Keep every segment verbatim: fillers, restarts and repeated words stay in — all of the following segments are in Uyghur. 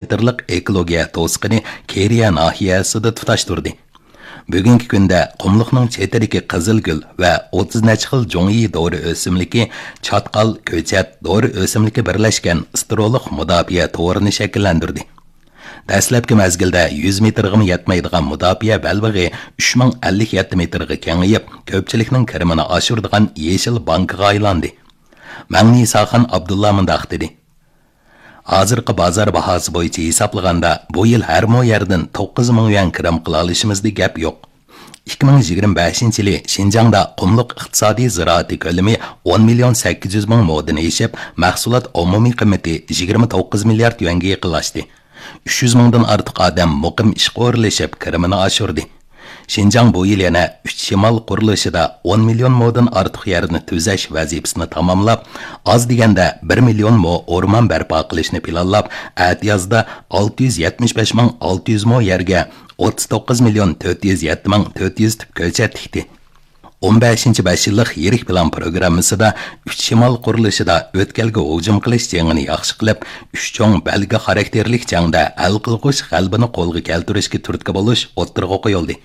مېتىرلىق ئېكولوگىيە توسۇقىنى كېرىيە ناھىيەسىدە تۇتاشتۇردى. بۈگۈنكى كۈندە قۇملۇقنىڭ چېتىدىكى قىزىلگۈل ۋە ئوتتۇز نەچچە خىل جۇڭيى دورا ئۆسۈملۈكى، چاتقال، كۆچەت، دورا ئۆسۈملۈكى بىرلەشكەن ئىستېرېئولۇق مۇداپىئە تورىنى شەكىللەندۈردى. دەسلەپكى مەزگىلدە يۈز مېتىرغىمۇ يەتمەيدىغان مۇداپىئە بەلبېغى ئۈچ مىڭ ئەللىك يەتتە مېتىرغا كېڭىيىپ، كۆپچىلىكنىڭ كىرىمىنى ئاشۇرىدىغان يېشىل بانكىغا ئايلاندى. مەڭنىساخان ئابدۇللا مۇنداق دېدى: ھازىرقى بازار باھاسى بويىچە ھېسابلىغاندا، بۇ يىل ھەر مو يەردىن توققۇز مىڭ يۈەن كىرىم قىلالىشىمىزدا گەپ يوق. ئىككى مىڭ يىگىرمە بەشىنچى يىلى شىنجاڭدا قۇملۇق ئىقتىسادىي زىرائىتى كۆلىمى ئون مىليون سەككىز يۈز مىڭ مودىن ئېشىپ، مەھسۇلات ئومۇمىي قىممىتى يىگىرمە توققۇز مىليارد يۈەنگە يېقىنلاشتى. ئۈچ يۈز مىڭدىن ئارتۇق ئادەم مۇقىم ئىشقا ئورۇنلىشىپ، كىرىمىنى ئاشۇردى. شىنجاڭ بۇ يىل يەنە ئۈچ شىمال قۇرۇلۇشىدا ئون مىليون مودىن ئارتۇق يەرنى تۈزەش ۋەزىپىسىنى تاماملاپ، ئاز دېگەندە بىر مىليون مو ئورمان بەرپا قىلىشنى پىلانلاپ، ئەتىيازدا ئالتە يۈز يەتمىش بەش مىڭ ئالتە يۈز مو يەرگە ئوتتۇز توققۇز مىليون تۆت يۈز يەتتە مىڭ تۆت يۈز تۈپ كۆچەت تىكتى. ئون بەشىنچى بەش يىللىق يىرىك پىلان پروگراممىسىدا ئۈچ شىمال قۇرۇلۇشىدا ئۆتكەلگە ھۇجۇم قىلىش جېڭىنى ياخشى قىلىپ، ئۈچ چوڭ بەلگە خاراكتېرلىك جەڭدە ھەل قىلغۇچ غەلىبىنى قولغا كەلتۈرۈشكە تۈرتكە بولۇش ئوتتۇرىغا قويۇلدى.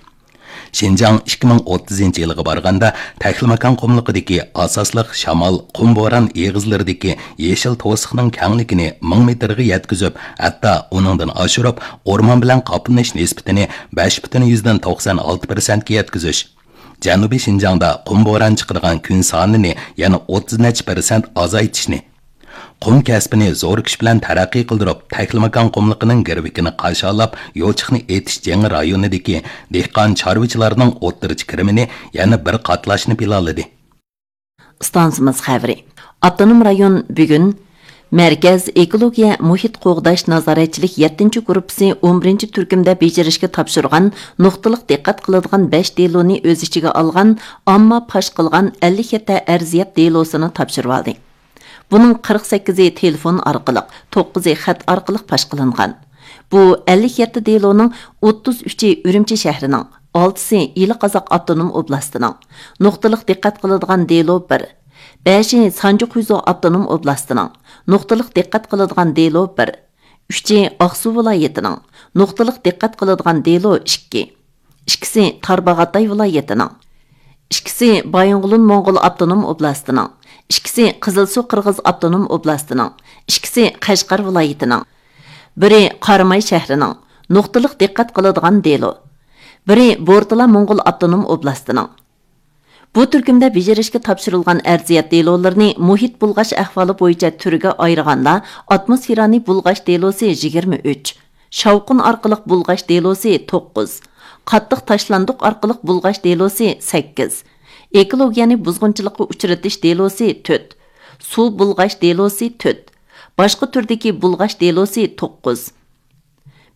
شىنجاڭ ئىككى مىڭ ئوتتۇزىنچى يىلغا بارغاندا، تەكلىماكان قۇملۇقىدىكى ئاساسلىق شامال، قۇم بوران ئېغىزلىرىدىكى يېشىل توسۇقنىڭ كەڭلىكىنى مىڭ مېتىرغا يەتكۈزۈپ، ھەتتا ئۇنىڭدىن ئاشۇرۇپ، ئورمان بىلەن قاپلىنىش نىسبىتىنى بەش پۈتۈن يۈزدىن توقسان ئالتە پىرسەنتكە يەتكۈزۈش، جەنۇبىي شىنجاڭدا قۇم بوران چىقىدىغان كۈن سانىنى يەنە ئوتتۇز نەچچە پىرسەنت ئازايتىشنى، قۇم كەسپىنى زور كۈچ بىلەن تەرەققىي قىلدۇرۇپ، تەكلىماكان قۇملۇقىنىڭ گىرۋىكىنى قاشالاپ، يوچۇقنى ئېتىش جېڭى رايونىدىكى دېھقان چارۋىچىلارنىڭ ئوتتۇرىچە كىرىمىنى يەنە بىر قاتلاشنى پىلانلىدى. ئىستانسىمىز خەۋىرى. ئاپتونوم رايون بۈگۈن مەركەز ئېكولوگىيە مۇھىت قوغداش نازارەتچىلىك يەتتىنچى گۇرۇپپىسى ئون بىرىنچى تۈركۈمدە بېجىرىشكە تاپشۇرغان نۇقتىلىق دىققەت قىلىدىغان بەش دېلونى ئۆز ئىچىگە ئالغان ئامما پاش قىلغان ئەللىك يەتتە ئەرزىيەت دېلوسىنى تاپشۇرۇۋالدى. بۇنىڭ قىرىق سەككىزى تېلېفون ئارقىلىق، توققۇزى خەت ئارقىلىق پاش قىلىنغان. بۇ ئەللىك يەتتە دېلونىڭ ئوتتۇز ئۈچى ئۈرۈمچى شەھىرىنىڭ، ئالتىسى ئىلى قازاق ئاپتونوم ئوبلاستىنىڭ، نۇقتىلىق دىققەت قىلىدىغان دېلو بىر، بەشى سانجى خۇيزۇ ئاپتونوم ئوبلاستىنىڭ، نۇقتىلىق دىققەت قىلىدىغان دېلو بىر، ئۈچى ئاقسۇ ۋىلايىتىنىڭ، نۇقتىلىق دىققەت قىلىدىغان دېلو ئىككى، ئىككىسى تارباغاتاي ۋىلايىتىنىڭ، ئىككىسى بايىنغولىن موڭغۇل ئاپتونوم ئوبلاستىنىڭ، ئىككىسى قىزىلسۇ قىرغىز ئاپتونوم ئوبلاستىنىڭ، ئىككىسى قەشقەر ۋىلايىتىنىڭ، بىرى قاراماي شەھىرىنىڭ، نۇقتىلىق دىققەت قىلىدىغان دېلو، بىرى بورتالا موڭغۇل ئاپتونوم ئوبلاستىنىڭ. بۇ تۈركۈمدە بېجىرىشكە تاپشۇرۇلغان ئەرزىيەت دېلولىرىنى مۇھىت بۇلغاش ئەھۋالى بويىچە تۈرگە ئايرىغاندا، ئاتموسفېرانى بۇلغاش دېلوسى يىگىرمە ئۈچ، شاۋقۇن ئارقىلىق بۇلغاش دېلوسى توققۇز، قاتتىق تاشلاندۇق ئارقىلىق بۇلغاش دېلوسى سەككىز، ئېكولوگىيەنى بۇزغۇنچىلىققا ئۇچرىتىش دېلوسى تۆت، سۇ بۇلغاش دېلوسى تۆت، باشقا تۈردىكى بۇلغاش دېلوسى توققۇز.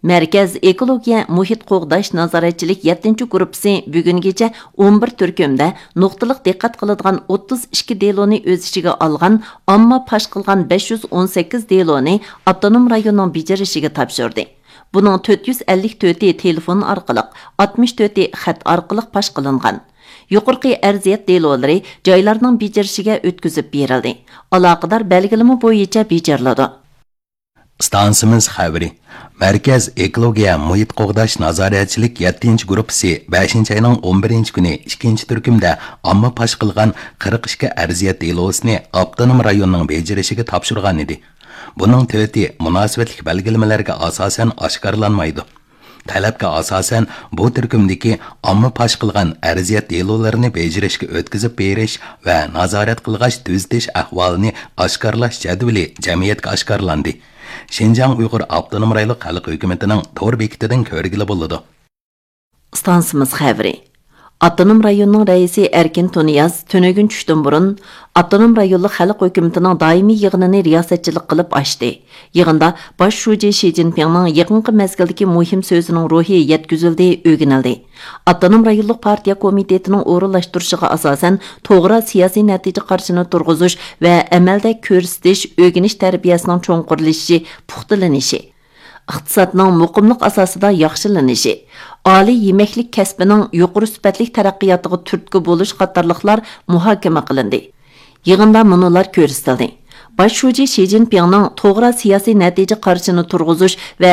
مەركەز ئېكولوگىيە مۇھىت قوغداش نازارەتچىلىك يەتتىنچى گۇرۇپپىسى بۈگۈنگىچە ئون بىر تۈركۈمدە نۇقتىلىق دىققەت قىلىدىغان ئوتتۇز ئىككى دېلونى ئۆز ئىچىگە ئالغان ئامما پاش قىلغان بەش يۈز ئون سەككىز دېلونى ئاپتونوم رايوننىڭ بېجىرىشىگە تاپشۇردى. بۇنىڭ تۆت يۈز ئەللىك تۆتى تېلېفون ئارقىلىق، ئاتمىش تۆتى خەت ئارقىلىق پاش قىلىنغان. يۇقىرىقى ئەرزىيەت دېلولىرى جايلارنىڭ بېجىرىشىگە ئۆتكۈزۈپ بېرىلدى. ئالاقىدار بەلگىلىمە بويىچە بېجىرىلىدۇ. ئىستانسىمىز خەۋىرى. مەركەز ئېكولوگىيە مۇھىت قوغداش نازارەتچىلىك يەتتىنچى گۇرۇپپىسى بەشىنچى ئاينىڭ ئون بىرىنچى كۈنى ئىككىنچى تۈركۈمدە ئامما پاش قىلغان قىرىق ئىككى ئەرزىيەت دېلوسىنى ئاپتونوم رايوننىڭ بېجىرىشىگە تاپشۇرغان ئىدى. بۇنىڭ تۆتى مۇناسىۋەتلىك بەلگىلىمىلەرگە ئاساسەن ئاشكارىلانمايدۇ. تەلەپكە ئاساسەن، بۇ تۈركۈمدىكى ئامما پاش قىلغان ئەرزىيەت دېلولىرىنى بېجىرىشكە ئۆتكۈزۈپ بېرىش ۋە نازارەت قىلغاچ تۈزىتىش ئەھۋالىنى ئاشكارىلاش جەدۋىلى جەمئىيەتكە ئاشكارىلاندى. شىنجاڭ ئۇيغۇر ئاپتونوم رايونلۇق خەلق ھۆكۈمىتىنىڭ تور بېكىتىدىن كۆرگىلى بولىدۇ. ئىستانسىمىز خەۋىرى. ئاپتونوم رايوننىڭ رەئىسى ئەركىن تۇنىياز تۈنۈگۈن چۈشتىن بۇرۇن ئاپتونوم رايونلۇق خەلق ھۆكۈمىتىنىڭ دائىمىي يىغىنىنى رىياسەتچىلىك قىلىپ ئاچتى. يىغىندا باش شۇجى شى جىنپىڭنىڭ يېقىنقى مەزگىلدىكى مۇھىم سۆزىنىڭ روھى يەتكۈزۈلدى، ئۆگىنىلدى. ئاپتونوم رايونلۇق پارتىيە كومىتېتىنىڭ ئورۇنلاشتۇرۇشىغا ئاساسەن، توغرا سىياسىي نەتىجە قارىشىنى تۇرغۇزۇش ۋە ئەمەلدە كۆرسىتىش، ئۆگىنىش تەربىيەسىنىڭ چوڭقۇرلىشىشى، پۇختىلىنىشى، ئىقتىسادنىڭ مۇقىملىق ئاساسىدا ياخشىلىنىشى، ئالىي يېمەكلىك كەسپىنىڭ يۇقىرى سۈپەتلىك تەرەققىياتىغا تۈرتكە بولۇش قاتارلىقلار مۇھاكىمە قىلىندى. يىغىندا مۇنۇلار كۆرسىتىلدى: باش شۇجى شى جىنپىڭنىڭ توغرا سىياسىي نەتىجە قارىشىنى تۇرغۇزۇش ۋە